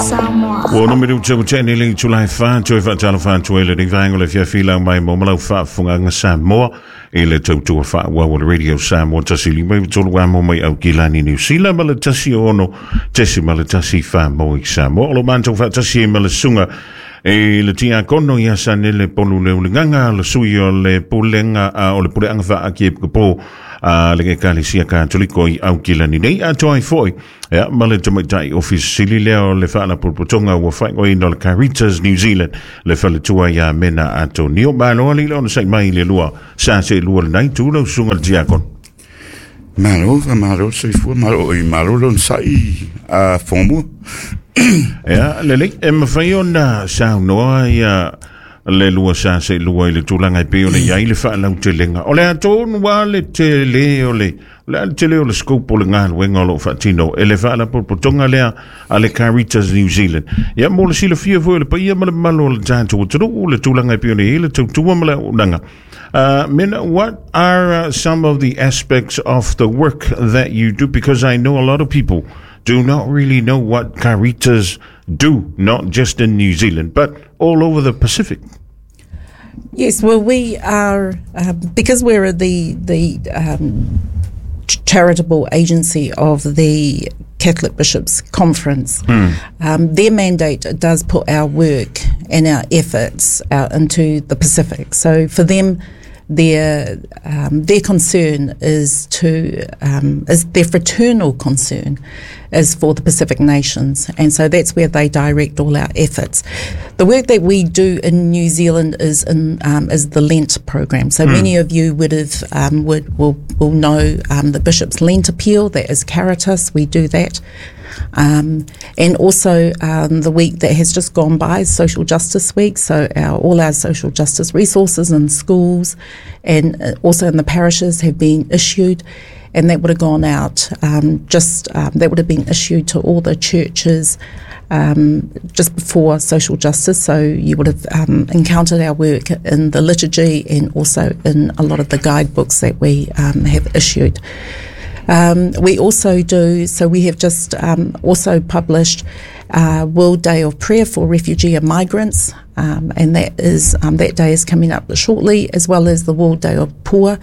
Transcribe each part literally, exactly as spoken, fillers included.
Samoa. Ua ono minuti ua tea nei le itula e fa, toe faatalofa atu ai i lenei vaega o le afiafi i lau maimoa ma lau faafofogaaga Samoa i le tautua faaauau a le Radio Samoa tasi lima iva tolu amo mai Aukilani Niu Sila ma le tasi ono tesimale tasi fa mo i Samoa. O lo matou faatasi ai ma le susuga i le Tiakono ia Sanele Polu Leulegaga, le sui o le pulega o le puleaga faaarikiepiskopo a le Ekalesia Katoliko i Aukilani nei, atoa ai foi ia ma le tamaitai ofisa sili lea o le faalapotopotoga ua faaigoaina o le Caritas New Zealand, le faletua ia Mena Atonio. Malo alii le onosai mai i le lua sa se lua lenai tu lau susuga le Tiakono. Malo, malo soifua, malo i malo le onosai a fomu. Ia, lelei, e mafai ona saunoa ia le lua sa se lua i le tulaga e pei ona i ai le faalautelega o le atonu a le tele o le o le a le tele o le scope o le galuega o loo faatino e le faalapotopotoga lea a le Caritas New Zealand. Ia, mo le silafia foi o le paia ma le mamalu o le tatou atunuu le tulaga e pei ona i ai le tautua ma le auaunaga. Uh, Mena, what are uh, some of the aspects of the work that you do? Because I know a lot of people do not really know what Caritas do, not just in New Zealand, but all over the Pacific. Yes, well, we are um, because we're the the um, charitable agency of the Catholic Bishops' Conference. Um, their mandate does put our work and our efforts out into the Pacific. So for them, their um, their concern is to um, is their fraternal concern is for the Pacific nations, and so that's where they direct all our efforts. The work that we do in New Zealand is in um, is the Lent program. So many of you would have um, would will will know um, the Bishop's Lent Appeal. That is Caritas. We do that. Um, and also um, the week that has just gone by is Social Justice Week. So our, all our social justice resources in schools and uh, also in the parishes have been issued, and that would have gone out um, just um, that would have been issued to all the churches um, just before social justice. So you would have um, encountered our work in the liturgy and also in a lot of the guidebooks that we um, have issued. Um, we also do, so we have just um, also published uh, World Day of Prayer for Refugee and Migrants, um, and that is um, that day is coming up shortly, as well as the World Day of Poor,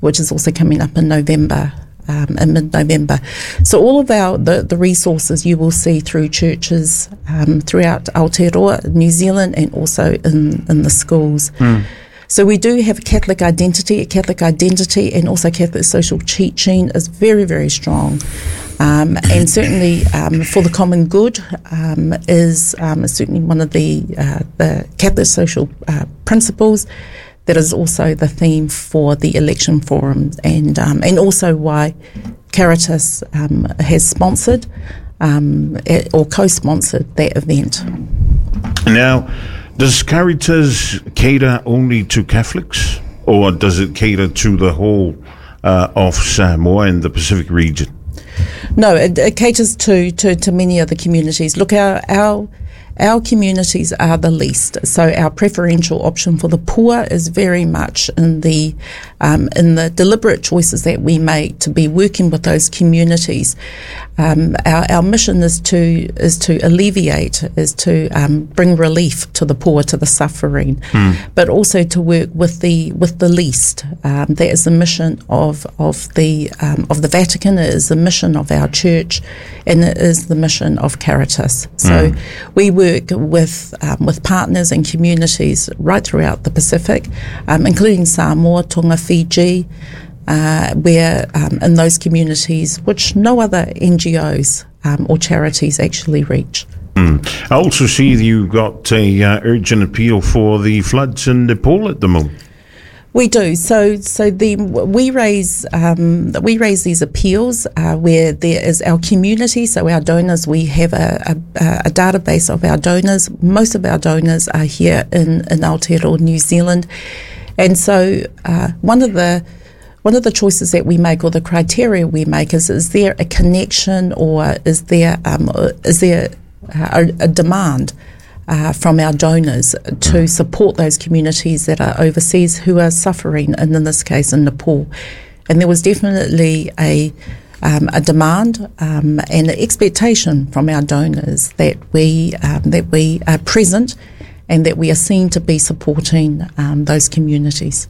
which is also coming up in November. Um, in mid-November. So all of our the, the resources you will see through churches um, throughout Aotearoa, New Zealand, and also in, in the schools. So we do have a Catholic identity, a Catholic identity, and also Catholic social teaching is very, very strong. Um, and certainly um, for the common good um, is, um, is certainly one of the, uh, the Catholic social uh, principles that is also the theme for the election forum and, um, and also why Caritas um, has sponsored um, eh, or co-sponsored that event. Now, does Caritas cater only to Catholics, or does it cater to the whole uh, of Samoa and the Pacific region? No, it, it caters to, to, to many other communities. Look, our, our our communities are the least, so our preferential option for the poor is very much in the um, in the deliberate choices that we make to be working with those communities. Um, our, our mission is to is to alleviate, is to um, bring relief to the poor, to the suffering, but also to work with the with the least. Um, that is the mission of of the um, of the Vatican. It is the mission of our church, and it is the mission of Caritas. So we work with um, with partners and communities right throughout the Pacific, um, including Samoa, Tonga, Fiji, uh, where um, in those communities, which no other N G Os um, or charities actually reach. I also see you've got a uh, urgent appeal for the floods in Nepal at the moment. We do. So, so the we raise um, we raise these appeals uh, where there is our community. So our donors, we have a, a, a database of our donors. Most of our donors are here in in Aotearoa, New Zealand, and so uh, one of the one of the choices that we make or the criteria we make is is there a connection or is there um, is there a, a demand uh, from our donors to support those communities that are overseas who are suffering, and in this case in Nepal. And there was definitely a um, a demand um, and an expectation from our donors that we um, that we are present and that we are seen to be supporting um, those communities.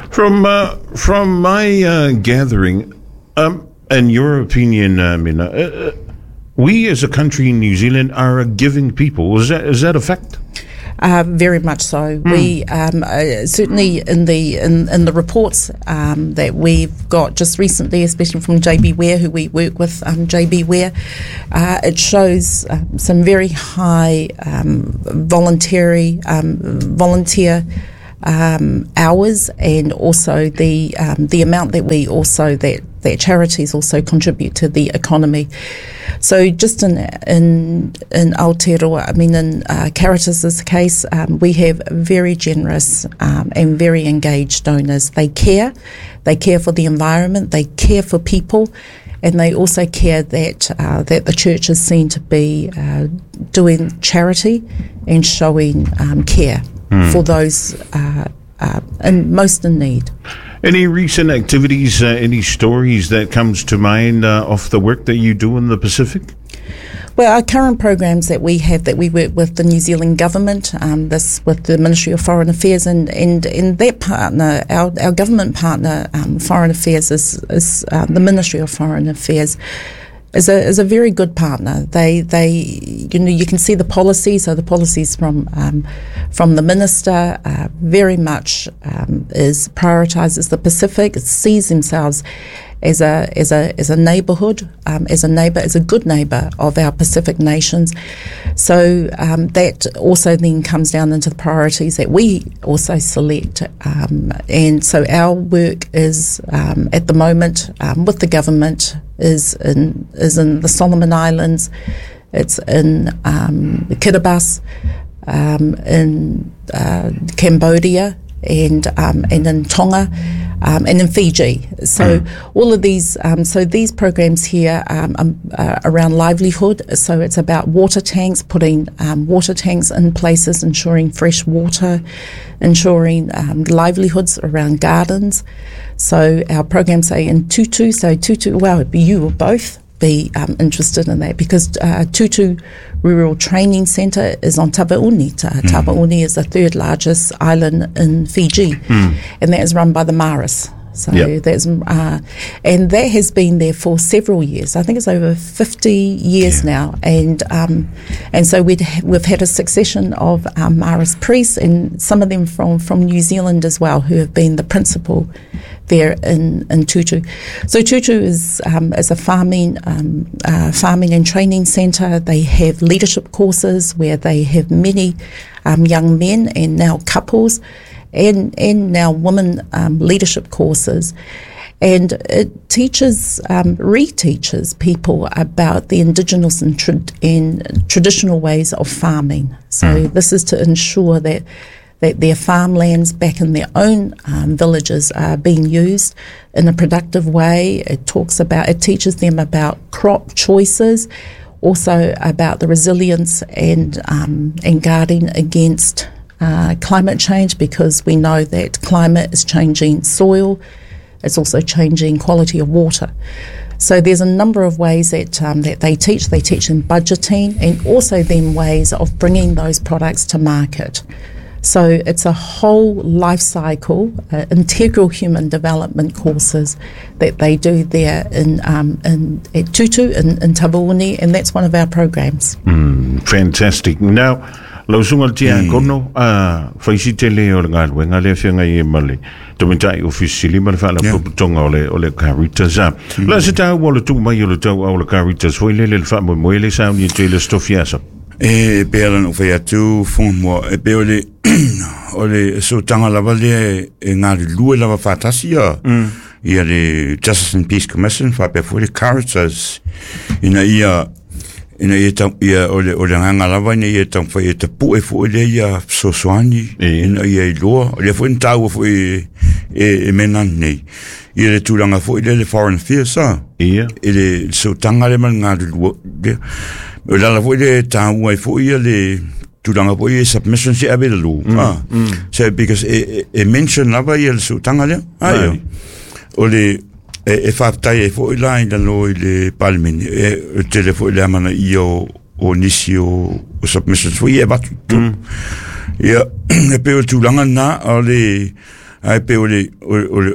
From uh, from my uh, gathering, um, and your opinion, uh, Mena, uh, we as a country in New Zealand are a giving people. Is that is that a fact? Uh, very much so. Mm. We um, uh, certainly in the in, in the reports um, that we've got just recently, especially from J B Were, who we work with, um, J B Were, uh, it shows uh, some very high um, voluntary um, volunteer um, hours, and also the um, the amount that we also that that charities also contribute to the economy. So just in in in Aotearoa, I mean in uh, Caritas's case, um, we have very generous um, and very engaged donors. They care, they care for the environment, they care for people, and they also care that uh, that the church is seen to be uh, doing charity and showing um, care mm. for those uh, uh, in most in need. Any recent activities, uh, any stories that comes to mind uh, off the work that you do in the Pacific? Well, our current programs that we have, that we work with the New Zealand government, um, this with the Ministry of Foreign Affairs, and, and, and that partner, our, our government partner, um, Foreign Affairs, is, is uh, the Ministry of Foreign Affairs, is a is a very good partner. They they you know you can see the policies. So the policies from um, from the minister uh, very much um, is prioritises the Pacific. It sees themselves as a as a as a neighbourhood, um, as a neighbour, as a good neighbour of our Pacific nations. So um, that also then comes down into the priorities that we also select. Um, and so our work is um, at the moment um, with the government is in is in the Solomon Islands, it's in um, Kiribati, um, in uh, Cambodia, and um, and in Tonga, um, and in Fiji. So mm. all of these, um, so these programs here um, um, uh, around livelihood. So it's about water tanks, putting um, water tanks in places, ensuring fresh water, ensuring um, livelihoods around gardens. So our programs say in Tutu, so Tutu, well, you will both be um, interested in that, because uh, Tutu Rural Training Centre is on Taveuni. Ta- mm. Taveuni is the third largest island in Fiji, mm. and that is run by the Maris. So yep. that's uh, and that has been there for several years. I think it's over fifty years yeah. now, and um, and so we'd ha- we've had a succession of um, Maris priests, and some of them from, from New Zealand as well, who have been the principal there in, in Tutu. So Tutu is um, is a farming um, uh, farming and training centre. They have leadership courses where they have many um, young men and now couples, and and now women um, leadership courses. And it teaches, um, reteaches people about the indigenous and, tra- and traditional ways of farming. So mm. this is to ensure that that their farmlands back in their own um, villages are being used in a productive way. It talks about, it teaches them about crop choices, also about the resilience and um, and guarding against uh, climate change, because we know that climate is changing soil, it's also changing quality of water. So there's a number of ways that um, that they teach. They teach in budgeting, and also then ways of bringing those products to market. So it's a whole life cycle, uh, integral human development courses that they do there in um, in at Tutu in, in Taveuni, and that's one of our programs. Mm, fantastic. Now, lau sunga le tia kono, a whaisi tele o le ngā le whianga i e male, tōmentai ofisi lima le whala puputonga o le, o le Caritas. La se tau o le tū mai o le tau au le Caritas, foi lele le wha moe le sauni e te le stofiasa. E pe ala no whai atu whonga mua, e pe o le o le so tanga lava le e ngā lue lava whātasi ia ia le Justice and Peace Commission whapea fo le Caritas ina ia ina ia tau ia o le o le nganga lava ina ia tau whai e te pue fo le ia sosoani ina ia i loa o le fo ntaua fo e e, e mena nei ia le tūranga fo le le Foreign Affairs a ia e le so tanga le mal ngā lua le o lala fo le tāua i fo ia le tūranga fo ia submission se ave le lū ah so because e, e mention lava ia le so tanga le aio o le E e whaatai e fo i la i lalo i le palemene e tele fo i le amana i o o nisi o, o submissions fo i e batu. Mm. Ia e pe o tūlanga nā o le ai pe o le o, o,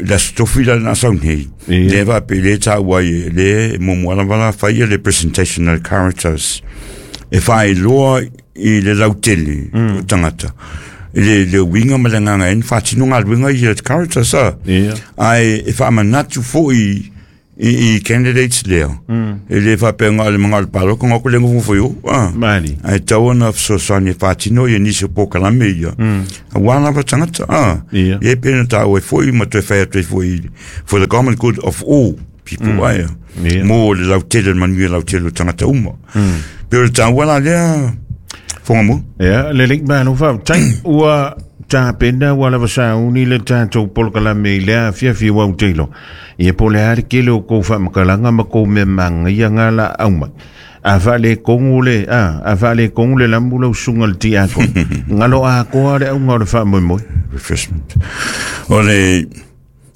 la stofi la na sau nei. Le va pe le ta wai le mo mo la vala fai le presentation of characters. E fai loa i le lautele mm. tangata. Le le winga ma le nganga en whatino ngā winga i le characters a. Yeah. Ai e whaamanatu fo i i, i candidates lea. Mm. E le whapenga le mga le paloko ngā ko lengo fo yo. Ah. Mali. Ai tau ana fesoasoani e whatino i nisi o pōkalame ia. Mm. A wāna pa tangata. Ah. Yeah. E pena tāu e fo i ma toe whai atu e fo i for the common good of all people. Mm. Ai. Yeah. Mō le lautele manu e lautele o tangata uma. Mm. Pero le tāu wala lea fonga mo. Ia, le lei malo whaatai ua tāpena ua lava sauni le tātou polokalame i lea fiafia wau teilo. Ia po le are kele o kou whaamakalanga ma kou mea manga ia ngā la auma. A whaale kongu le, a, a whaale kongu le lambu lau sunga le ti ako. Ngalo a koa le aunga o le whaamoemoe. Refreshment. O le,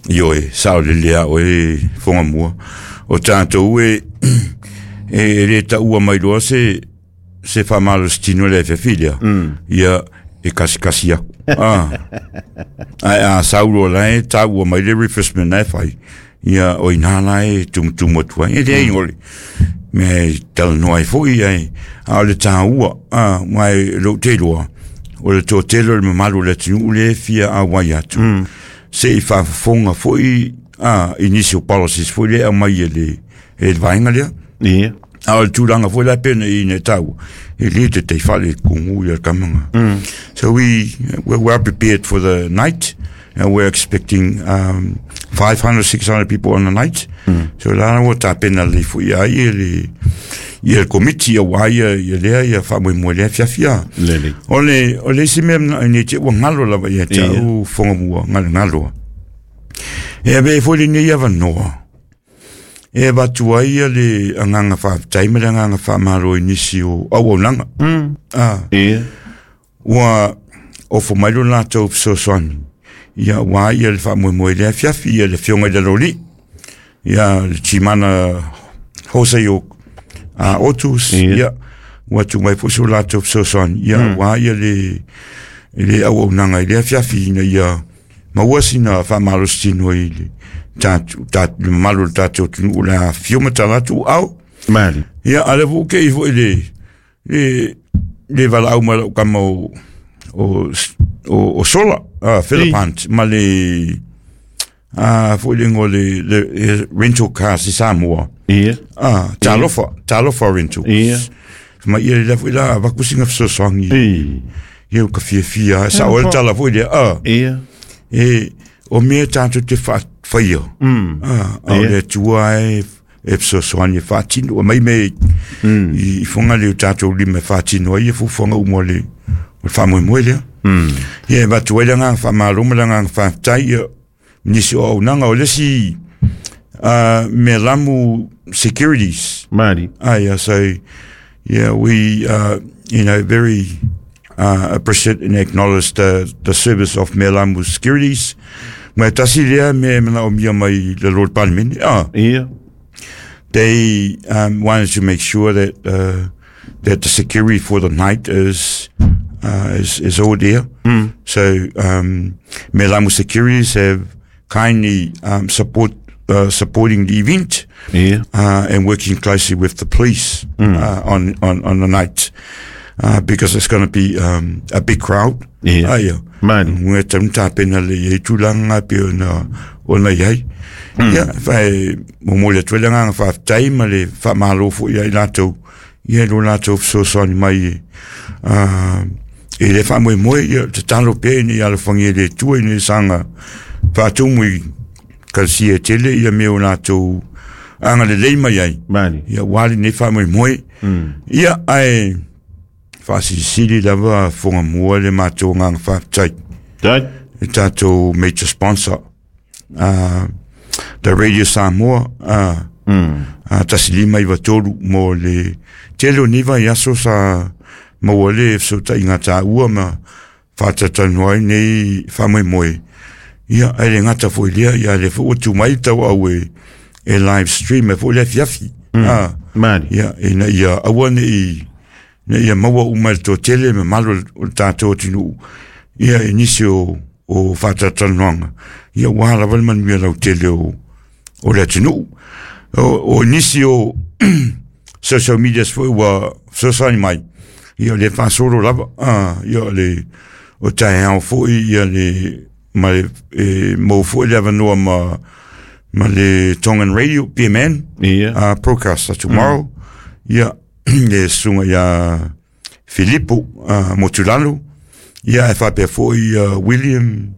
ioe, sao le lea o e fonga mua. O tātou e, e le taua mai loa se, se whamalo stino le whewhilia. Mm. Ia, e kasi kasi aku. Ah. Ai a saulo lai taua mai le refreshment nei whai. Ia, o inā lai tumutumu atua. E le ingoli. Me tala noa i fo i ai. A o le tāua, a, mai lo te roa. O le tō telo le mamalu le tinu le fia a wai atu. Mm. Se i whafonga fo i, a, initial policies fo i le au mai e le, e le vaenga lea. Ia. A o le tūranga fo la pena i ne tau. E le te te whale kongu i a kamanga. Mm. So we, we're well prepared for the night. And we're expecting um, five hundred, six hundred people on the night. Mm. So la ua tā pena le fo ia i le i le komiti a wā ia i lea ia wha mo lea fiafia. Lele. O le, o le isi mea ne te ua ngalo lava ia te Ia. au fonga mua, ngalo ngaloa. E awe e fo le nei awa noa. E watu ai ia le anganga whaatai me le anganga whaamaro i nisi o au au nanga. Mm. Ah. Ia. Ua ofo mai lo lātou fesoasoani. Ia wā ia le whaamoemoe lea fiafi, ia le fionga i le loli. Ia le timana hosei o a otus, Ia. ia ua tu mai fo so lātou fesoasoani. Ia Mm. wā ia le, le au au nanga i lea fiafi ina ia maua sina whaamalositino i le tātou, tātou, le mamalu o le tātou tunu o la fio matalatu au. Mali. Ia, ale fo ke i fo i le, le, le wala au mai lau kama o, o, o, o Sola, ah, Philip I. Hunt, ma le, ah, fo i le ngo le, le, le rental cars i Samoa. Ia. Ah, Talofa, Talofa Rentals. Ia. Ma ia le fo i la vakusinga fesoasoani. I. Ia o ka fiafia, sa o le tala fo i le, ah, Ia. e, o mea tātou te wha, whaia. Mm. Ah, a o Ia. le atua e, e fesoasoani e whaatino, mai me Mm. i, i whanga le o tātou lima e whaatino ai e fufuanga umo le, o le whaamoemoe lea. Mm. Ia, e watu ai le ngā whaamalo ma le ngā whaaftai, ia, nisi o aunanga o lesi uh, me lamu securities. Mali. Ah, yeah, so, yeah, we, uh, you know, very uh, appreciate and acknowledge the, the service of Melamu Securities. Me tasi lea me mana o mia mai le Lord Parliament. Ah, Ia. they um, wanted to make sure that uh, that the security for the night is uh, is, is all there. Mm. So um, Melamu Securities have kindly um, support uh, supporting the event Ia. uh, and working closely with the police Mm. uh, on, on on the night uh, because it's going to be um, a big crowd. Ia. Ah, yeah. Mali. Ngā taun tāpena le i tūlanga pe o na, o na iai. Ia, whai, mo mo le tuele ngā whaatai ma le whaamalo fo ia i lātou. Ia lo lātou fesoasoani mai e. Uh, e le whaamoemoe ia te talo pe ni ala whangi e le tua i ni sanga whaatumu i kalsi e tele ia me o lātou anga le lei mai ai. Mali. Ia wali nei whaamoemoe. Mm. Ia ai whaasisili lava fonga mua le mātou ngā whaatai Tai. e tātou major sponsor uh, the Radio Samoa uh, Mm. uh, tasi lima iwa tolu mo le tele o niva i aso sa maua le fesotaʻiga tāua ma faatatalanoa ai nei faamoemoe. Ia, ai le gata foi lea, ia le foi ua tumai tau au e, e live stream e foi le afiafi. Mm. Ah, Mali. Ia, ina ia aua ne i, ina ia maua uma le toatele mamalu o le tatou atunuu. Ia, i nisi o, o faatalatalanoaga. Ia, ua lava le manuia lautele o, o le atunuu. O, o nisi o social media foi ua fesoasoani mai. Ia, le faasolo lava. Ah, ia, le, o taeao foi, ia le, ma le, e, mo foi le avanoa ma, ma le Tongan Radio, P M N, yeah. uh, broadcast tomorrow. Mm. Ia, le susuga ia Filipo uh, Motulalo, ia e faapea foi uh, William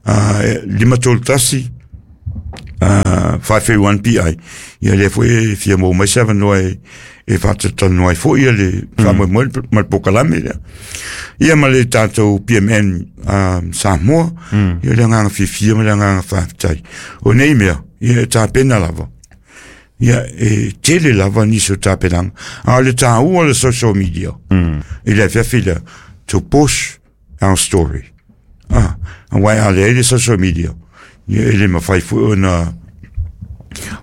uh, lima tolu tasi uh, five three one P I. Ia le foi e fia mo mai se avanoa e, e faatatalanoa ai foi ia le faamoemoe ma le pokalame lea. Ia ma le tatou P M N um, Samoa, mm. Ia le agaga fiafia ma le agaga faafetai. O nei mea, ia e tapena lava. Ia e tele lava nisi o tapenaga. A o le taua o le social media, mm. I le afiafi lea, to push our story. Ah, auā a leai le social media, ia e le mafai foi ona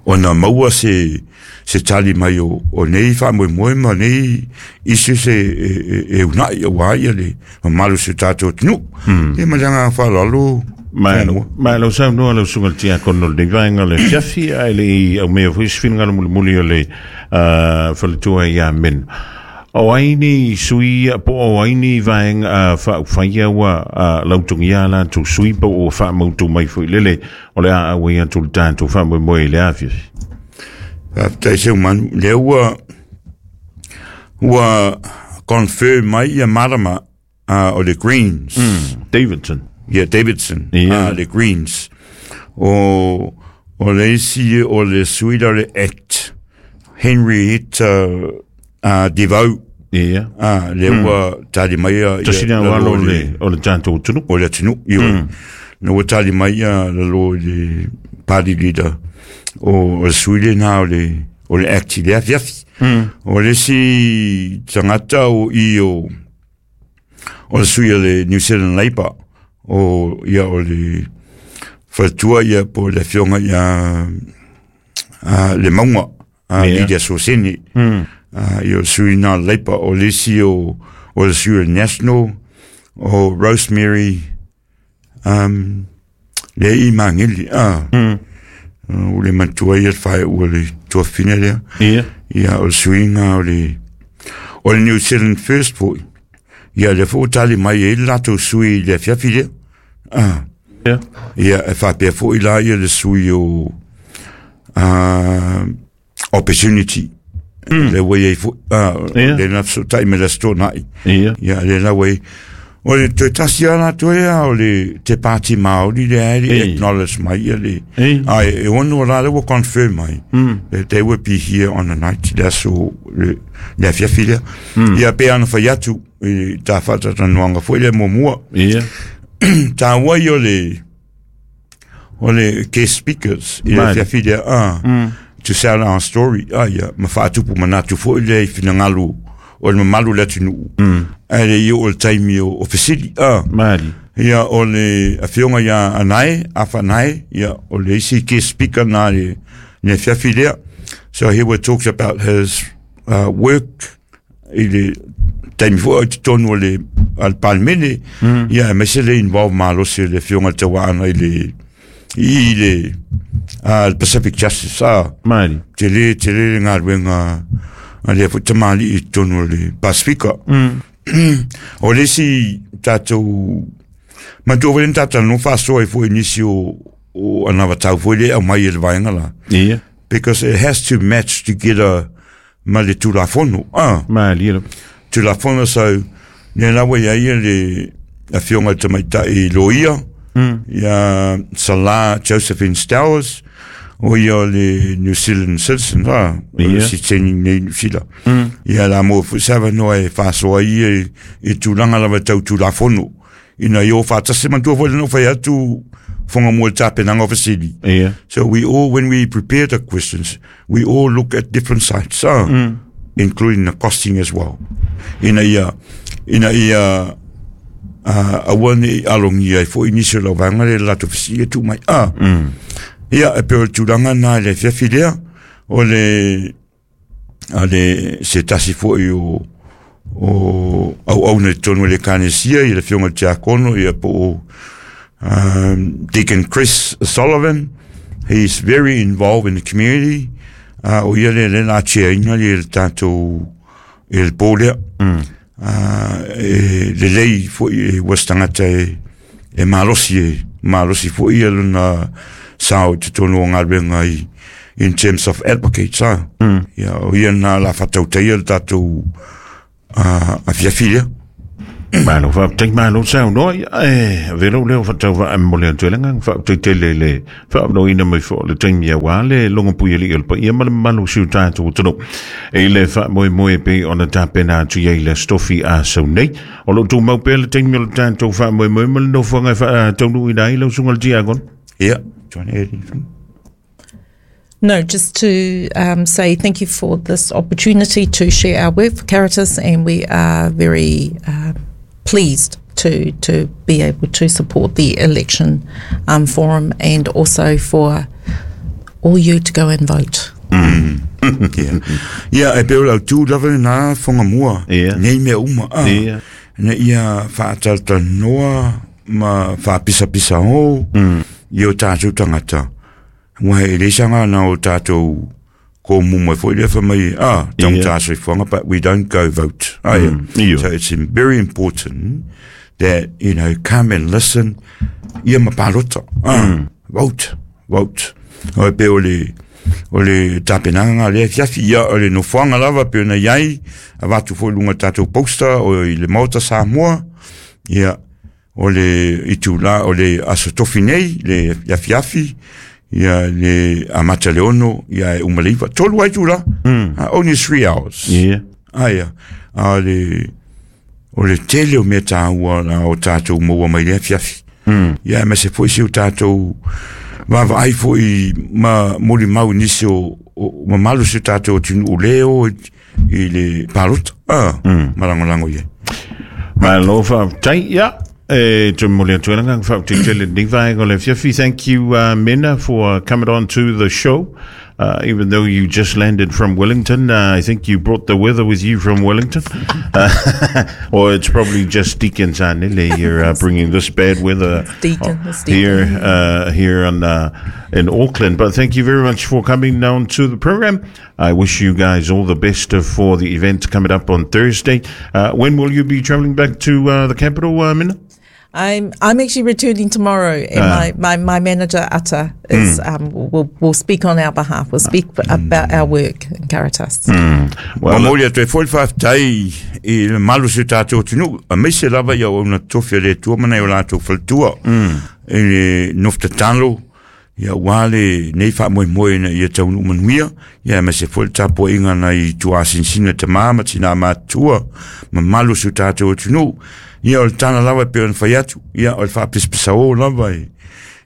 ona maua se se tali mai o, o nei faamoemoe ma nei issues e, e, e, e unai auā ia le mamalu o se tatou atunuu. Ia ma le agaga faaaloalo. Ma lau saunoa lau susuga le tiakono o lenei vaega o le afiafi, ae le i aumea foi se finagalo mulimuli o le uh, faletua ia Meno. O ai ni sui po o ai ni vaega uh, faaufaia ua uh, lautogia latou sui po o faamautu mai foi lele o le a auai atu le tatou faamoemoe i le afiafi. Faafetai Seumanu, lea ua ua confirm mai ia Marama uh, o le Greens. Mm, Davidson. Yeah, Davidson. Yeah. Uh, le Greens. O, o le isi o le sui o le Act. Henrietta uh, Devau. Yeah. Ah, le ua tali mai ia Tasina o le o le tatou atunuu. O le atunuu, ioe. Mm. Na ua tali mai ia lalo i le party leader o, o le sui lena o le o le Act i le afiafi. Mm. O le isi tagata o i o o le sui o le New Zealand Labour o ia o le faletua ia po le afioga ia uh, le Mauga uh, Yeah. Lydia Sosene. Mm. Uh, ia o le sui na Labour o le isi o o le sui o le National o Rosemary um, le i mangeli ah. Mm. Uh, o le matua ia le whae ua le tuafina lea. Yeah. Ia o le suiga o le o le New Zealand First foi. Ia le foi tali mai e le latou sui i le afiafi lea. Ah. Yeah. Ia e faapea foi la ia le sui o uh, Opportunity. Mm. Le ua iai foi. Ah, Yeah. le na fesotai me le aso toanai. Yeah. Ia le la ua o le toe tasi a latou ea o le te Pāti Māori le ae le Ei. acknowledge mai ia le Ei. ai e ono la le ua confirm mai Mm. that they will be here on the night le aso le, le afiafi lea. Mm. Ia pe ana fai atu i tā faatalatalanoaga foi le muamua. Yeah. Taua ia o le o le guest speakers i le Mali. afiafi lea ah, Mm. to sell our story ah, ia ma faatupu manatu foi lea i finagalo o le mamalu o le atunuu. Mm. Ae le i oo le taimi o, o fesili ah. Mali. Ia o le afioga ia Anae, Afanae, ia o le isi guest speaker na le, le afiafi lea. So he will talk about his uh, work i le taimi foi o i totonu o le a le Palemene. Mm. Ia e maise le involve malosi o le afioga le Tauaana i le i le uh, le Pacific Justice ah. Mali. Tele, tele le galuega a lea foi tamalii i totonu o le Pasifika. Mm. O le isi tatou matua foi le na tatalanoa faasoa ai foi i nisi o o anavatau foi le aumai e le vaega la. Yeah. Because it has to match together ma le Tulafono. Ah, Mali. la. Tulafono so le la ua iai ia le afioga i le tamaitai loia Mm. ia Salah Josephine Stowers o ia o le New Zealand citizen ah, o le Ia. siteni nei New Zealand. Mm. Ia la mo foi se avanoa e faasoa ai e, e tulaga lava tau Tulafono ina ia o faatasi matua foi le na fai atu fonga mo le tapenaga o fesili. Yeah. So we all, when we prepare the questions, we all look at different sites, ah, Mm. including the costing as well. Ina ia, ina ia, Aua ne alongi ai fo inisi o lau vaega le latou fesili e tuu mai a. Ia e pei o le tulaga na i le afiafi lea o le a le se tasi fo'i o o auauna i totonu o le Ekalesia i le afioga i le Tiakono ia po o um, Deacon Chris Sullivan. He's very involved in the community. Uh, o ia le le la tšeaina le le tatou i le po lea. Uh, e lelei fo'i e ua se tagata e e malosi e malosi fo'i ia lona sao i totonu o galuega i in terms of advocates a. Ia o ia na la faatautaia le tatou uh, afiafi lea. Malo faafetai, malo saunoa. Ia e avea lou leo faatauvaa mo le atu e le agaga faafetai tele i le faaavanoaina mai foi o le taimi auā le logopui alii o le paia ma le mamalu o si o tatou atunuu i le faamoemoe e pei ona tapena atu i ai le Aso Tofi a sau nei. O loo tumau pea le taimi o le tatou faamoemoe ma le nofoaga e faataunuuina ai lau susuga i le Tiakono. Ia, do you want to add anything? No, just to um, say thank you for this opportunity to share our work for Caritas, and we are very uh, pleased to to be able to support the election um, forum, and also for all you to go and vote. Ia, ia e pei o le autū lava lenā Fugamua. Ia. Nei mea uma a. Ia. Ina ia faatalatalanoa ma faapisapisaō i o tatou tagata. Ua e le isaga na o tatou komumu e foi lea fai mai a tagatā soifuaga, but we don't go vote. Ah, yeah. Io. So it's very important that, you know, come and listen ia ma palota. Ah, vote, vote. O e pei o le o le tapenaga lea afiafi ia o le nofoaga lava pei ona iai avatu foi i luga o le tatou poster o i le Maota Samoa ia o le itulā o le Aso Tofi nei le afiafi ia le amata le ono ia e uma le iva tolu ai itulā. Uh, only three hours. Ia. Aia a le o le tele o mea tāua na o tatou maua mai le afiafi. Ia ma se foi si o tatou vaavaai foi ma molimau i nisi o, o mamalu o si o tatou atunuu leo i, i le palota ah, ma lagolago i ai. Malo faafetai. Ia e te momoli atu ai le agaga faafetai tele lenei vaega o le afiafi. Thank you, uh, Mena, for coming on to the show. Uh, even though you just landed from Wellington, uh, I think you brought the weather with you from Wellington. Uh, or it's probably just Deacon Sanele you're uh, bringing this bad weather Deacon, it's Deacon. here uh, here on, uh, in Auckland. But thank you very much for coming down to the program. I wish you guys all the best for the event coming up on Thursday. Uh, when will you be travelling back to uh, the capital, uh, Minna? I'm I'm actually returning tomorrow, and my, my, my manager Atta is um, will will speak on our behalf. Will speak about our work in Caritas. Well, Momoli atu e foi le faafetai i le mamalu o si o tatou atunuu aemaise lava ia auauna tofi a le Atua ma nai o latou faletua i le nofo tatalo ia uā le nei faamoemoe ina ia taunuu manuia ia aemaise foi le tapuaiga nai tuasinasina tamā ma tinā matutua mamalu o si o tatou atunuu ia o le tala lava e pei ona fai atu ia o le faapisapisaō lava e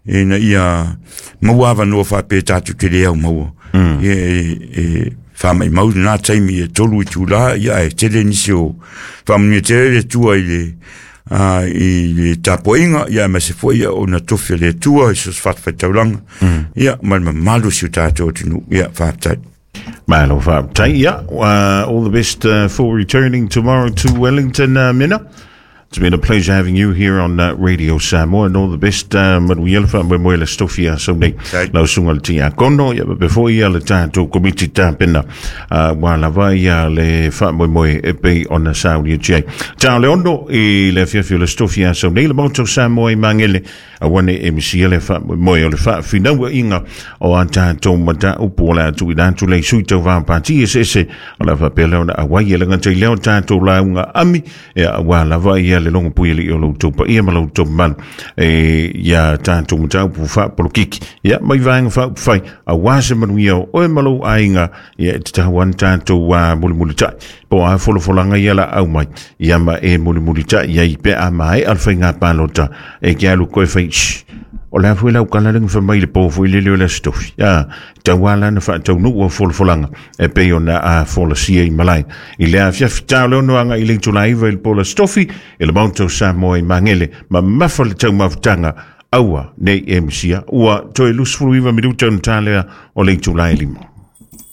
ina ia maua avanoa faapea tatou te le au maua ia e, e faamaʻimau lenā taimi e tolu itulā ia ae tele nisi o faamanuia tele le Atua i le uh, i le tapuaiga ia aemaise foi ia ona tofi a le Atua i so o se fatafaitaulaga ia ma le mamalu o si o tatou atunuu ia faafetai. Malo faafetai. Yeah, uh, all the best uh, for returning tomorrow to Wellington, uh, Minna. It's been a pleasure having you here on uh, Radio Samoa, and all the best. Uh, manuia le faamoemoe le Aso Tofi a sau nei Okay. lau susuga i le Tiakono ia faapea foi ia le tatou komiti tapena uh, ua lava ia le faamoemoe e pei ona saunia atu ai. Ta o le ono i le afiafi o le Aso Tofi a sau nei le Maota o Samoa i Magele aua ne i e misia le faamoemoe o le faafinauaiga o a tatou mataupu o le a tuuina atu le sui tauvā pati eseese o le a faapea lea ona auai e le gata i lea o tatou lauga ami ia auā lava ia le logopui alii o lo outou paia ma lo outou mamalu e ia tatou mataupu faapolokiki ia mai vaega faaupufai auā se manuia o oe ma lou aiga ia e tatau ana tatou uh, mulimulitai po o a folafolaga ia la au mai ia ma e mulimulitai ai pe a maea le faiga palota e ke alu koe fai shh. O le a foi lau kala lenga fa mai le po foi le leo le stofi. A tauala na whaataunu ua folafolanga e pei ona a folasia i malai. I le afiafi tau leo noanga i le itula iva i le pola stofi i le Maota o Samoa i Magele ma mafa le taumafutaga aua nei e misia ua toe luasefulu iva minuta ona talea o le itula e lima.